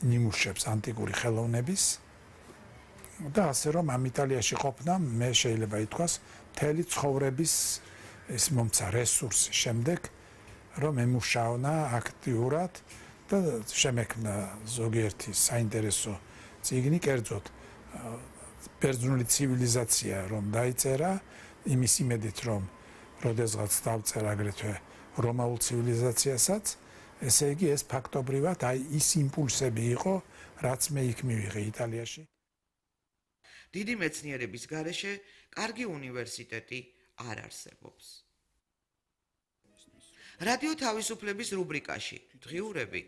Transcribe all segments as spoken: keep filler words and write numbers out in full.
ნიმუშებს ანტიკური ხელოვნების და ასე რომ ამ იტალიაში ყოფნა მე შეიძლება ითქვას მთელი ცხოვრების ეს მომცა რესურსი შემდეგ რომ ემუშაونا აქტიურად და შემექმნა ზოგიერთი საინტერესო წიგნი კერძოდ ბერძნული ცივილიზაცია რომ დაიწერა იმის იმედით რომ როდესღაც დავწერა აგრეთვე რომაულ ცივილიზაციასაც ესე იგი ეს ფაქტობრივად აი ის იმპულსები იყო რაც მე იქ მივიღე იტალიაში დიდი მეცნიერების გარეშე კარგი უნივერსიტეტი არ არსებობს რადიო თავისუფლების რუბრიკაში დღიურები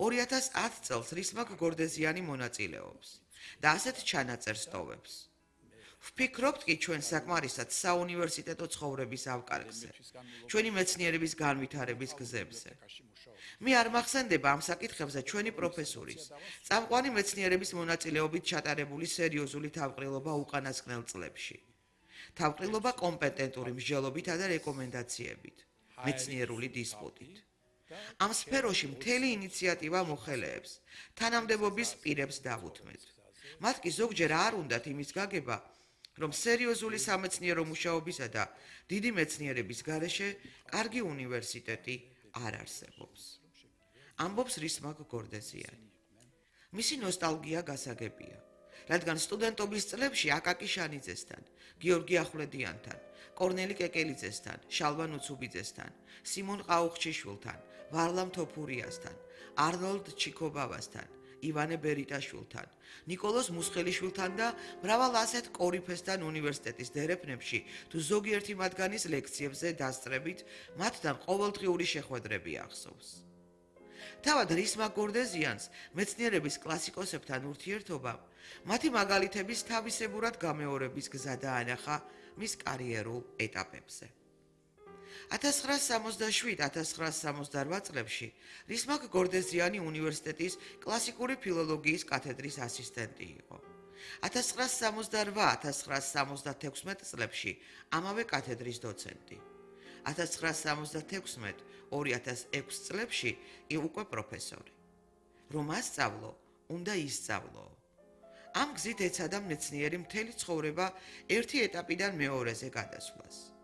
ორი ათას ათ წელს რისმაკ გორდეზიანი მონაწილეობს და ასეთ ჩანაწერს ტოვებს. ვფიქრობთ კი ჩვენ საკმარისად საუნივერსიტეტო ცხოვრების ავკარგზე, ჩვენი მეცნიერების განვითარების გზებზე. მე არ მახსენდება ამ საკითხებზე ჩვენი პროფესორის, წამყვანი მეცნიერების მონაწილეობით ჩატარებული სერიოზული თავყრილობა უკანასკნელ წლებში. თავყრილობა კომპეტენტური მსჯელობითა და რეკომენდაციებით, მეცნიერული დისპუტით. ამ სფეროში მთელი ინიციატივა მოხელეებს, თანამდებობის პირებს დავუთმეთ. მათ კი ზოგჯერ არ უნდათ იმის გაგება, რომ სერიოზული სამეცნიერო მუშაობისა და დიდი მეცნიერების გარეშე კარგი უნივერსიტეტი არ არსებობს. ამბობს რისმაკ გორდეზიანი. მისი ნოსტალგია გასაგებია, რადგან სტუდენტობის წლებში აკაკი შანიძესთან, გიორგი ახვლედიანთან, კორნელი კეკელიძესთან, შალვა ნუცუბიძესთან, სიმონ ყაუხჩიშვილთან, ვარლამ თოფურიასთან, არნოლდ ჩიქობავასთან, ივანე ბერიტაშვილთან, ნიკოლოზ მუსხელიშვილთან და მრავალ ასეთ კორიფესთან უნივერსიტეტის დერეფნებში თუ ზოგიერთი მათგანის ლექციებზე დასწრებით მათთან ყოველდღიური შეხვედრები ახსოვს. თავად რისმაკ გორდეზიანს მეცნიერების კლასიკოსებთან ურთიერთობამ მათი მაგალითების თავისებურად გამეორების გზა დაანახა მის კარიერულ ეტაპებზე. ათას ცხრაას სამოცდაშვიდ - ათას ცხრაას სამოცდარვა წლებში რისმაკ გორდეზიანი უნივერსიტეტის კლასიკური ფილოლოგიის კათედრის ასისტენტი იყო. ათას ცხრაას სამოცდარვა - ათას ცხრაას სამოცდათექვსმეტ წლებში ამავე კათედრის დოცენტი. ათას ცხრაას სამოცდათექვსმეტ - ორი ათას ექვს წლებში კი უკვე პროფესორი. რომ ასწავლო, უნდა ისწავლო. ამ გზით ეცადა მეცნიერი მთელი ცხოვრება ერთი ეტაპიდან მეორეზე გადასვლას.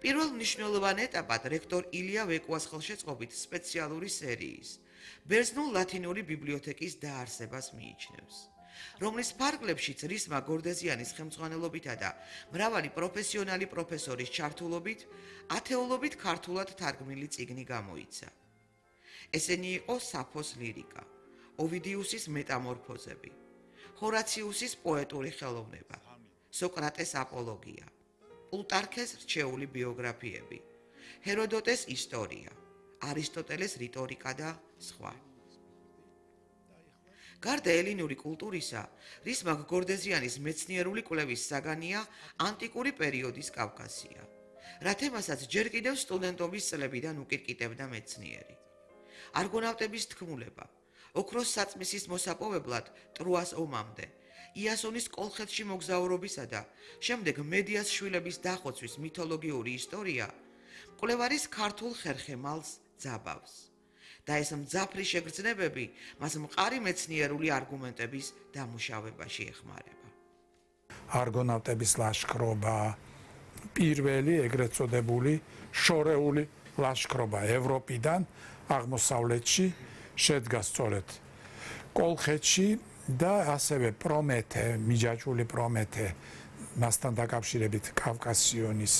პირველ მნიშვნელოვან ეტაპად რექტორ ილია ვეკუას ხელშეწყობით სპეციალური სერიის ბერძნულ-ლათინური ბიბლიოთეკის დაარსებას მიიჩნევს, რომლის ფარგლებშიც რისმაკ გორდეზიანის ხელმძღვანელობითა და მრავალი პროფესიონალი პროფესორის ჩართულობით ათეულობით ქართულად თარგმნილი წიგნი გამოიცა. ესენი იყო საფოს ლირიკა, ოვიდიუსის მეტამორფოზები, ჰორაციუსის პოეტური ხელოვნება, სოკრატეს აპოლოგია, პლუტარქეს რჩეული ბიოგრაფიები, ჰეროდოტეს ისტორია, არისტოტელეს რიტორიკა და სხვა. გარდა ელინური კულტურისა, რისმაკ გორდეზიანის მეცნიერული კვლევის საგანია ანტიკური პერიოდის კავკასია, რა თემასაც ჯერ კიდევ სტუდენტობის წლებიდან უკირკიტებდა მეცნიერი. არგონავტების თქმულება, ოქროს საწმისის მოსაპოვებლად ტროას ომამდე, იასონის კოლხეთში მოგზაურობისა და შემდეგ მედიას შვილების დახოცვის მითოლოგიური ისტორია მკვლევარის ქართულ ხერხემალს ძაბავს და ეს მძაფრი შეგრძნებები მას მყარი მეცნიერული არგუმენტების დამუშავებაში ეხმარება. არგონავტების ლაშქრობა, პირველი ეგრეთ წოდებული შორეული ლაშქრობა ევროპიდან აღმოსავლეთში შედგა სწორედ კოლხეთში და ასევე პრომეთე, მიჯაჭვული პრომეთე, მასთან დაკავშირებით კავკასიონის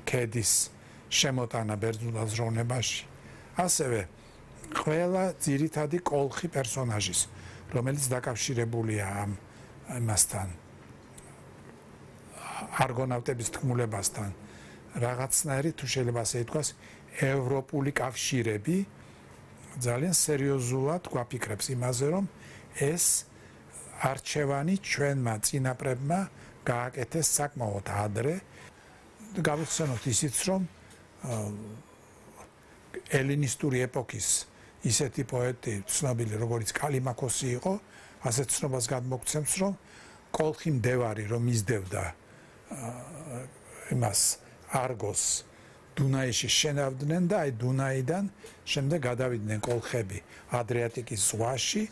ქედის შემოტანა ბერძნულ აზროვნებაში. ასევე ყველა ძირითადი კოლხი პერსონაჟის, რომელიც დაკავშირებულია ამ მასთან, არგონავტების თქმულებასთან, რაღაცნაირი თუ შეიძლება ასე ითქვას, ევროპული კავშირები ძალიან სერიოზულად გვაფიქრებს იმაზე, რომ ეს არჩევანი ჩვენმა წინაპრებმა გააკეთეს საკმაოდ ადრე. გავიხსენოთ ისიც, რომ ელინისტური ეპოქის ისეთი პოეტი ცნობილი როგორც კალიმაქოსი იყო, ასეთ ცნობას გადმოგცემს, რომ კოლხი მდევარი რომ იზდევდა იმას არგოს დუნაიში შენავდნენ და აი დუნაიდან შემდეგ გადავიდნენ კოლხები ადრიატიკის ზღვაში